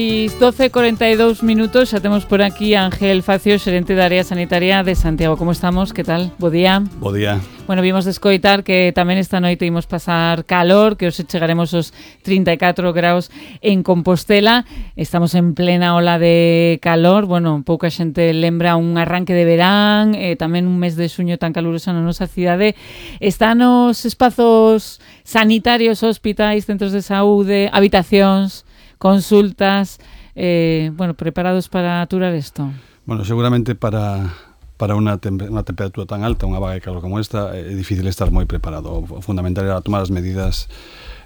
12:42 minutos, xa temos por aquí a Ángel Facio, xerente da área sanitaria de Santiago. Como estamos? Que tal? Bo día. Bo día. Bueno, vimos de escoitar que tamén esta noite imos pasar calor, que hoxe chegaremos aos 34 graus en Compostela. Estamos en plena ola de calor. Bueno, pouca xente lembra un arranque de verán, tamén un mes de xuño tan caluroso na nosa cidade. Están os espazos sanitarios, hospitais, centros de saúde, habitacións, consultas, preparados para aturar isto? Bueno, seguramente para unha temperatura tan alta, unha vaga de calor como esta, é difícil estar moi preparado. O fundamental era tomar as medidas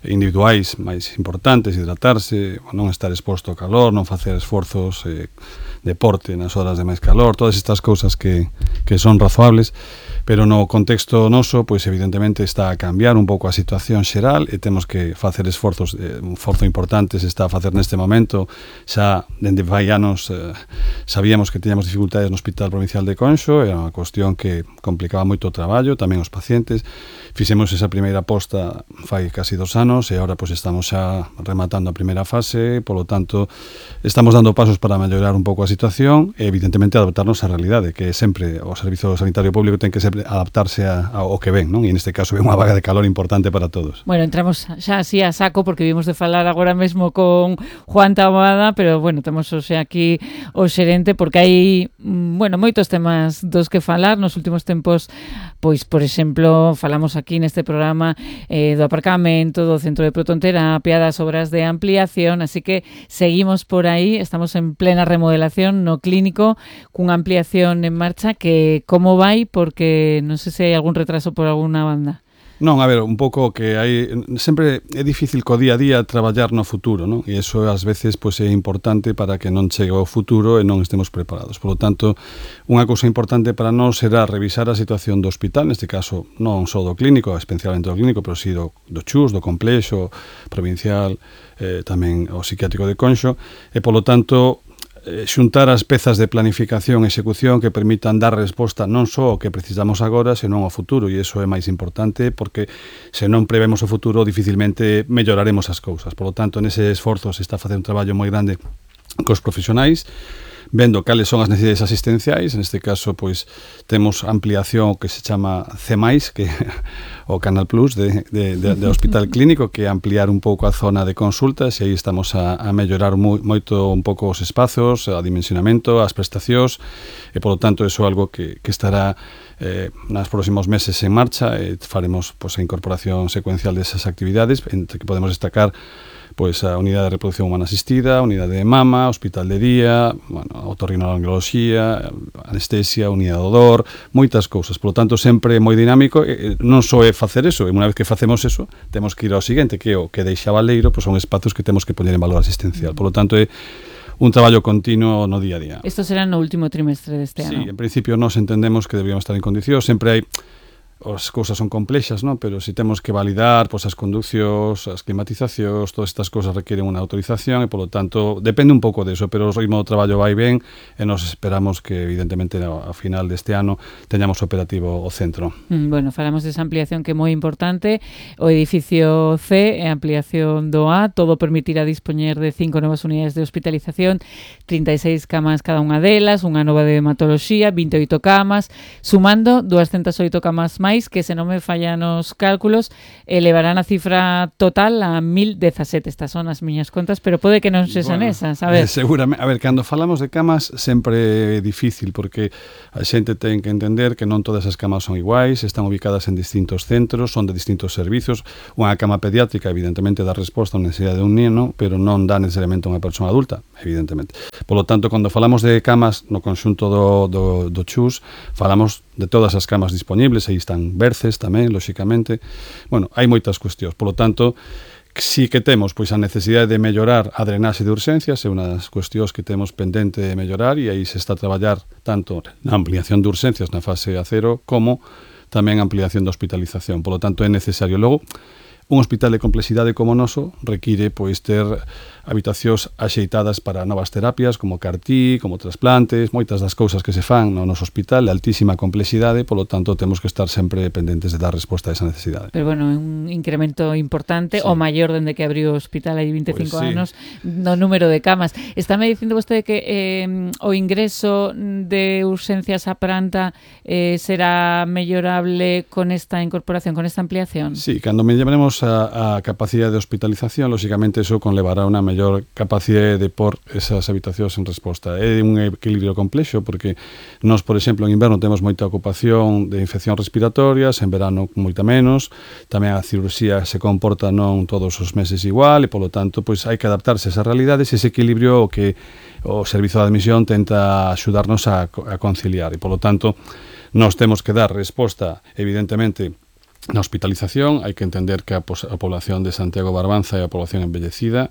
individuais máis importantes, hidratarse, non estar exposto ao calor, non facer esforzos, deporte nas horas de máis calor, todas estas cousas que son razoables, pero no contexto noso, pois evidentemente está a cambiar un pouco a situación xeral e temos que facer esforzos, un esforzo importante se está a facer neste momento. Xa dende fai anos sabíamos que teníamos dificultades no Hospital Provincial de Conxo, era unha cuestión que complicaba moito o traballo, tamén os pacientes. Fixemos esa primeira aposta fai casi 2 anos e agora pois estamos xa rematando a primeira fase, polo tanto estamos dando pasos para mellorar un pouco a situación e evidentemente adaptarnos á realidade, que sempre o Servizo Sanitario Público ten que sempre adaptarse ao que ven, non? E neste caso ven unha vaga de calor importante para todos. Bueno, entramos xa así a saco porque vimos de falar agora mesmo con Juan Taboada, pero bueno, temos hoxe aquí o xerente porque hai, moitos temas dos que falar nos últimos tempos. Pois, por exemplo, falamos aquí neste programa do aparcamento, do centro de protonterapia, das obras de ampliación, así que seguimos por aí, estamos en plena remodelación no clínico, cunha ampliación en marcha que como vai, porque non sei se hai algún retraso por alguna banda. Non, a ver, un pouco que hai sempre é difícil co día a día traballar no futuro, non? E iso ás veces pois é importante para que non chegue ao futuro e non estemos preparados. Por lo tanto, unha cousa importante para nós será revisar a situación do hospital, neste caso non só do clínico, especialmente do clínico, pero si do CHUS, do complexo provincial, tamén o psiquiátrico de Conxo, e polo tanto xuntar as pezas de planificación e execución que permitan dar resposta non só ao que precisamos agora, senón ao futuro, e iso é máis importante porque se non prevemos o futuro dificilmente melloraremos as cousas. Por lo tanto, nese esforzo se está a facer un traballo moi grande cos profesionais, vendo cales son as necesidades asistenciais. Neste caso, pois, temos ampliación que se chama C+, que o Canal Plus de Hospital Clínico, que é ampliar un pouco a zona de consultas, e aí estamos a mellorar moito un pouco os espazos, a dimensionamento, as prestacións, e, polo tanto, iso é algo que estará nos próximos meses en marcha, e faremos pois, a incorporación secuencial desas actividades, entre que podemos destacar pois a unidade de reproducción humana asistida, a unidade de mama, hospital de día, otorrinolaringoloxía, anestesia, unidade de odor, moitas cousas. Por lo tanto, sempre é moi dinámico, non só é facer eso, e unha vez que facemos eso, temos que ir ao seguinte, que é o que deixa Baleiro, pois son espazos que temos que poñer en valor asistencial. Por lo tanto, é un traballo continuo no día a día. Isto será no último trimestre deste ano? Sí, en principio nós entendemos que deberíamos estar en condicións, sempre hai as cousas son complexas, non? Pero se temos que validar pois, as conducións, as climatizacións, todas estas cousas requieren unha autorización e, polo tanto, depende un pouco deso, pero o ritmo do traballo vai ben e nos esperamos que, evidentemente, ao final deste ano teñamos operativo o centro. Bueno, falamos desa ampliación que é moi importante. O edificio C é ampliación do A, todo permitirá dispoñer de 5 novas unidades de hospitalización, 36 camas cada unha delas, unha nova de hematoloxía, 28 camas, sumando 208 camas máis, que se non me fallan os cálculos, elevarán a cifra total a 1017. Estas son as miñas contas, pero pode que non se son esas, a ver. Seguramente, a ver, cando falamos de camas sempre é difícil, porque a xente ten que entender que non todas as camas son iguais, están ubicadas en distintos centros, son de distintos servizos. Unha cama pediátrica, evidentemente, dá resposta a unha necesidade de un neno, pero non dá necesariamente a unha persona adulta, evidentemente. Por lo tanto, cando falamos de camas no conxunto do CHUS, falamos de todas as camas disponibles, aí están berces tamén, lóxicamente. Bueno, hai moitas cuestións. Por lo tanto, si que temos pois a necesidade de mellorar a drenaxe de urxencias, é unha das cuestións que temos pendente de mellorar, e aí se está a traballar tanto na ampliación de urxencias na fase A0 como tamén a ampliación da hospitalización. Por lo tanto, é necesario. Logo, un hospital de complexidade como o noso require pois ter habitacións axeitadas para novas terapias, como CAR-T, como trasplantes, moitas das cousas que se fan no noso hospital de altísima complexidade, polo tanto temos que estar sempre pendentes de dar resposta a esa necesidade. Pero bueno, un incremento importante, o maior dende que abriu o hospital hai 25 anos, no número de camas. Estáme dicindo vostede que o ingreso de urxencias á planta será mellorable con esta incorporación, con esta ampliación? Sí, cando melloremos a capacidade de hospitalización, lógicamente eso conlevará unha mellor capacidade de por esas habitacións en resposta. É un equilibrio complexo porque nós, por exemplo, en inverno temos moita ocupación de infeccións respiratorias, en verano moita menos, tamén a cirurxía se comporta non todos os meses igual e, polo tanto, pois hai que adaptarse a esas realidades e ese equilibrio o que o Servizo de Admisión tenta axudarnos a conciliar e, polo tanto, nós temos que dar resposta, evidentemente, na hospitalización. Hai que entender que a población de Santiago Barbanza é a población envellecida,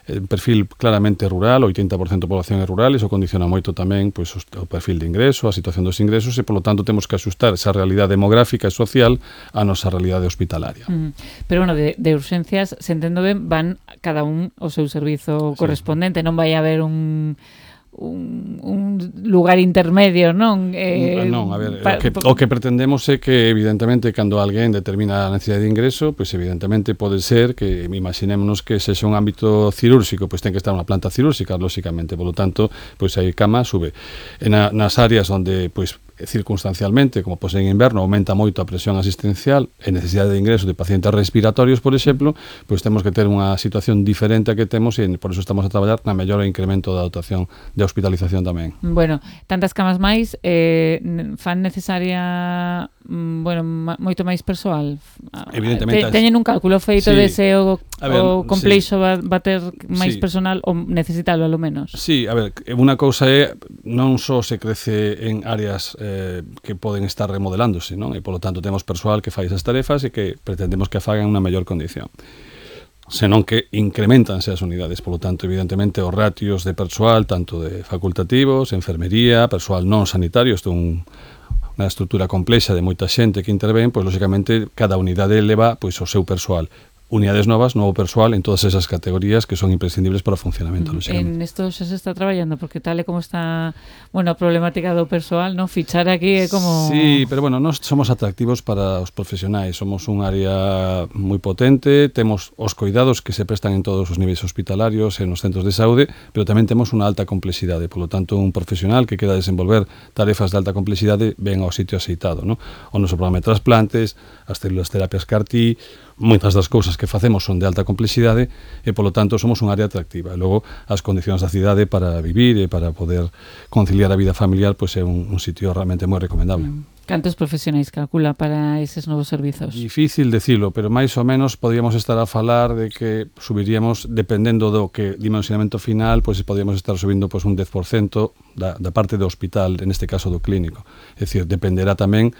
un perfil claramente rural, 80% da población é rural, iso condiciona moito tamén pois, o perfil de ingreso, a situación dos ingresos e, polo tanto, temos que axustar esa realidade demográfica e social a nosa realidade hospitalaria. Pero, bueno, de urxencias, se entendo ben, van cada un o seu servizo correspondente, non vai haber un lugar intermedio, non? Non, a ver, o que pretendemos é que, evidentemente, cando alguén determina a necesidade de ingreso, pois evidentemente pode ser que, imaginémonos que sexa un ámbito cirúrxico, pois ten que estar unha planta cirúrxica, lóxicamente, polo tanto, pois aí cama sube. E nas áreas onde, pois, circunstancialmente, como pode ser en inverno, aumenta moito a presión asistencial e necesidade de ingreso de pacientes respiratorios, por exemplo, pois temos que ter unha situación diferente a que temos e por eso estamos a traballar na mellora e incremento da dotación de hospitalización tamén. Bueno, tantas camas máis fan necesaria moito máis persoal. Evidentemente. Teñen un cálculo feito de se o complexo va ter máis personal ou necesitalo, alo menos? Sí, a ver, unha cousa é non só se crece en áreas que poden estar remodelándose, non? E, polo tanto, temos persoal que fai esas tarefas e que pretendemos que fagan unha mellor condición. Senón que incrementanse as unidades, polo tanto, evidentemente, os ratios de persoal, tanto de facultativos, enfermería, persoal non sanitario, isto é unha estrutura complexa de moita xente que intervén, pois, lógicamente, cada unidade leva pois, o seu persoal. Unidades novas, novo persoal en todas esas categorías que son imprescindibles para o funcionamento. En esto xa se está traballando, porque tal e como está a problemática do persoal, non fichar aquí é como... Sí, pero bueno, nós somos atractivos para os profesionais, somos un área moi potente, temos os cuidados que se prestan en todos os niveis hospitalarios e nos centros de saúde, pero tamén temos unha alta complexidade, polo tanto, un profesional que queda desenvolver tarefas de alta complexidade ven ao sitio aceitado, ¿no? O noso programa de trasplantes, as células terapias CAR-T, moitas das cousas que facemos son de alta complexidade e, polo tanto, somos un área atractiva. E logo, as condicións da cidade para vivir e para poder conciliar a vida familiar pois é un sitio realmente moi recomendable. Cantos profesionais calcula para eses novos servizos? Difícil decirlo, pero máis ou menos podríamos estar a falar de que subiríamos, dependendo do que dimensionamento final, pois podríamos estar subindo pois un 10% da parte do hospital, en este caso do clínico. É dicir, dependerá tamén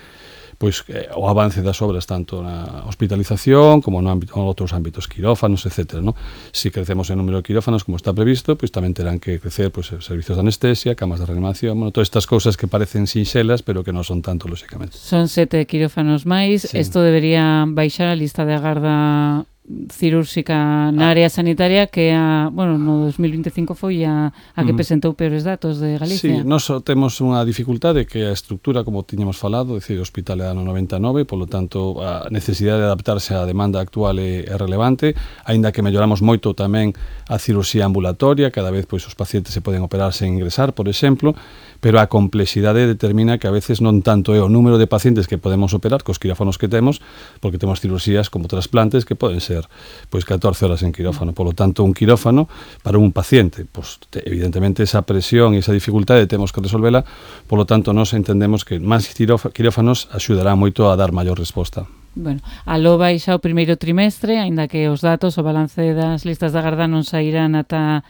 pois o avance das obras tanto na hospitalización como en outros ámbitos, quirófanos, etc. ¿no? Si crecemos en número de quirófanos como está previsto, pois tamén terán que crecer pois, servicios de anestesia, camas de reanimación, bueno, todas estas cousas que parecen sinxelas, pero que non son tanto, lógicamente. Son 7 quirófanos máis, isto debería baixar a lista de agarda cirúrxica na área sanitaria que no 2025 foi a que presentou peores datos de Galicia. Sí, nós temos unha dificultade que a estructura, como tiñamos falado, é dicir, o hospital é ano 99, polo tanto a necesidade de adaptarse á demanda actual é relevante, aínda que melloramos moito tamén a cirurxía ambulatoria, cada vez pois os pacientes se poden operar sen ingresar, por exemplo, pero a complexidade determina que a veces non tanto é o número de pacientes que podemos operar cos quirófanos que temos, porque temos cirurxías como trasplantes que poden ser pois 14 horas en quirófano. Polo tanto, un quirófano para un paciente, pois evidentemente esa presión e esa dificultade temos que resolvela, polo tanto, nós entendemos que máis quirófanos axudará moito a dar maior resposta. Bueno, aló baixa o primeiro trimestre, aínda que os datos, o balance das listas de agarda non sairán ata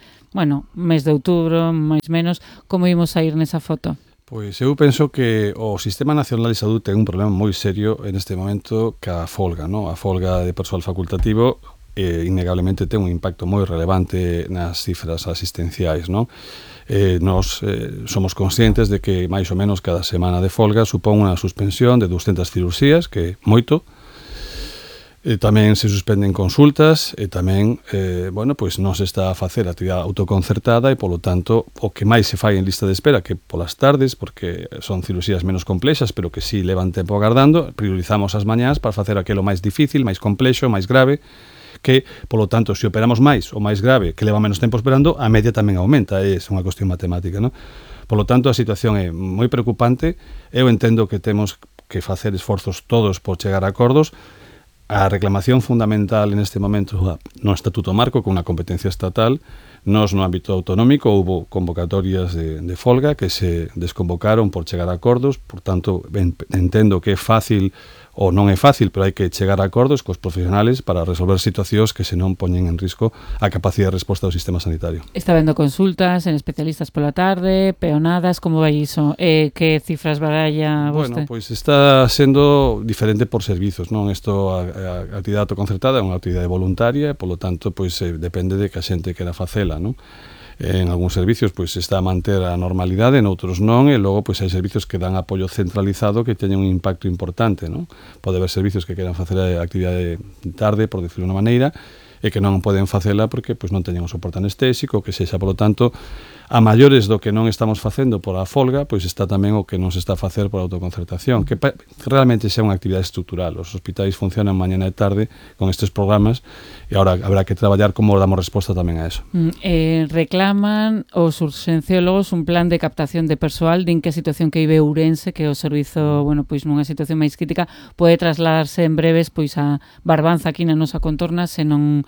mes de outubro, máis menos. Como imos sair nesa foto? Pois eu penso que o Sistema Nacional de Saúde ten un problema moi serio en este momento ca folga, ¿no? A folga de persoal facultativo innegablemente ten un impacto moi relevante nas cifras asistenciais, ¿no? Nós somos conscientes de que máis ou menos cada semana de folga supón unha suspensión de 200 cirurxías, que é moito. Tamén se suspenden consultas e tamén, pois non se está a facer a actividade autoconcertada e, polo tanto, o que máis se fai en lista de espera, que polas tardes, porque son cirurxías menos complexas, pero que sí levan tempo agardando, priorizamos as mañás para facer aquilo máis difícil, máis complexo, máis grave, que, polo tanto, se operamos máis o máis grave, que leva menos tempo esperando, a media tamén aumenta, é unha cuestión matemática, non? Polo tanto, a situación é moi preocupante. Eu entendo que temos que facer esforzos todos por chegar a acordos. A reclamación fundamental en este momento no Estatuto Marco, con unha competencia estatal. Nos, no ámbito autonómico, houve convocatorias de folga que se desconvocaron por chegar a acordos. Por tanto, entendo que é fácil, ou non é fácil, pero hai que chegar a acordos cos profesionales para resolver situacións que se non poñen en risco a capacidade de resposta do sistema sanitario. Está vendo consultas en especialistas pola tarde, peonadas, como vai iso? Que cifras baralla vostede? Bueno, pois está sendo diferente por servizos, non? Isto, a actividade autoconcertada é unha actividade voluntaria e, polo tanto, pois depende de que a xente quera facela, non? En algúns servicios pois está a manter a normalidade, en outros non, e logo pois hai servicios que dan apoio centralizado que teñen un impacto importante, non? Pode haber servicios que queran facer a actividade tarde, por decirlo de unha maneira, e que non poden facela porque pois non teñen o soporte anestésico, que sexa, polo tanto, a maiores do que non estamos facendo por a folga, pois está tamén o que non se está a facer por a autoconcertación, que realmente xa unha actividade estrutural. Os hospitais funcionan mañana e tarde con estes programas e agora habrá que traballar como damos resposta tamén a eso. Reclaman os urxenciólogos un plan de captación de persoal. Din que a situación que vive Ourense, que o servizo, pois nunha situación máis crítica, pode trasladarse en breves pois a Barbanza, aquí na nosa contorna, se non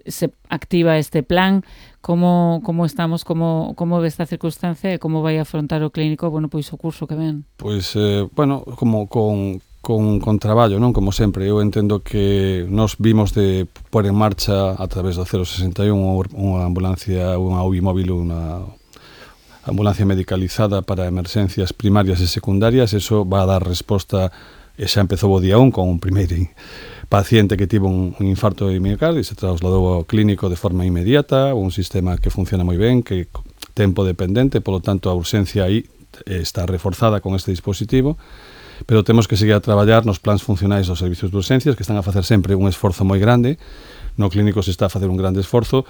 se activa este plan. Como estamos, como ve esta circunstancia e como vai afrontar o clínico, pois o curso que ven? Pois, como con traballo, non? Como sempre, eu entendo que nos vimos de pôr en marcha a través do 061 unha ambulancia, unha UBI móvil, unha ambulancia medicalizada para emerxencias primarias e secundarias. Eso va a dar resposta, e xa empezou o día 1 con un primeiro paciente que tivo un infarto de miocardio e se trasladou ao clínico de forma inmediata, un sistema que funciona moi ben, que tempo dependente, polo tanto a urxencia aí está reforzada con este dispositivo, pero temos que seguir a traballar nos plans funcionais dos servicios de urxencias, que están a facer sempre un esforzo moi grande. No clínico se está a facer un grande esforzo.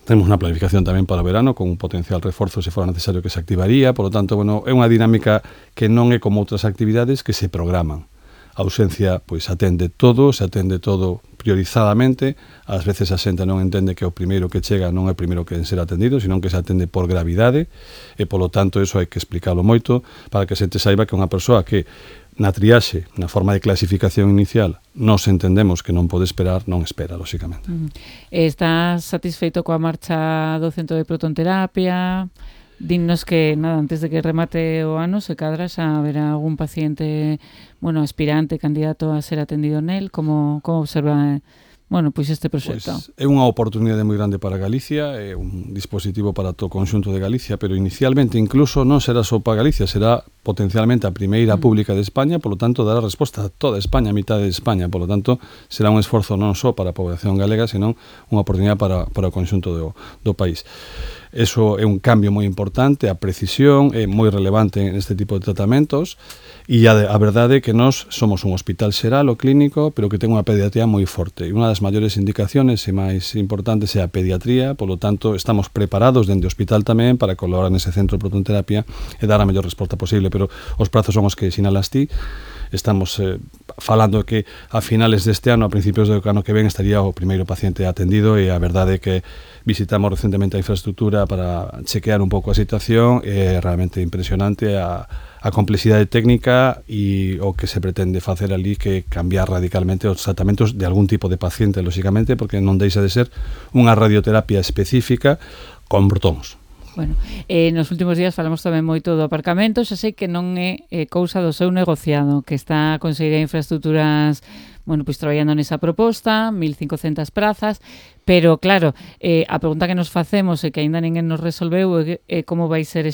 Temos unha planificación tamén para o verano, con un potencial reforzo se fora necesario que se activaría. Por lo tanto, é unha dinámica que non é como outras actividades que se programan. A ausencia pois atende todo, se atende todo priorizadamente. Ás veces a xente non entende que o primeiro que chega non é o primeiro que ser atendido, senón que se atende por gravidade e, polo tanto, eso hai que explicalo moito para que a xente saiba que unha persoa que na triaxe, na forma de clasificación inicial, nos entendemos que non pode esperar, non espera, lóxicamente. Estás satisfeito coa marcha do centro de protonterapia? Dinnos que, antes de que remate o ano, se cadra xa haberá algún paciente, aspirante, candidato a ser atendido nel. Como observa, pois este proxecto? Pois é unha oportunidade moi grande para Galicia, é un dispositivo para todo o conxunto de Galicia, pero inicialmente incluso non será só para Galicia, será potencialmente a primeira pública de España, polo tanto dará resposta a toda España, a mitad de España, polo tanto será un esforzo non só para a población galega, senón unha oportunidade para o conxunto do país. Eso é un cambio moi importante, a precisión é moi relevante neste tipo de tratamentos e a verdade é que nós somos un hospital xeral, o clínico, pero que ten unha pediatría moi forte e unha das maiores indicaciones e máis importantes é a pediatría, polo tanto estamos preparados dende o hospital tamén para colaborar nese centro de protonterapia e dar a mellor resposta posible, pero os prazos son os que sinalas ti. Estamos falando que a finales deste ano, a principios do ano que ven, estaría o primeiro paciente atendido e a verdade é que visitamos recentemente a infraestructura para chequear un pouco a situación. É realmente impresionante a complexidade técnica e o que se pretende facer ali, que cambiar radicalmente os tratamentos de algún tipo de paciente, lóxicamente, porque non deixa de ser unha radioterapia específica con protóns. Nos últimos días falamos tamén moito do aparcamento. Xa sei que non é cousa do seu negociado, que está a conseguir infraestructuras, pois traballando nesa proposta, 1.500 prazas, pero claro, a pregunta que nos facemos e que aínda ninguén nos resolveu é como vai ser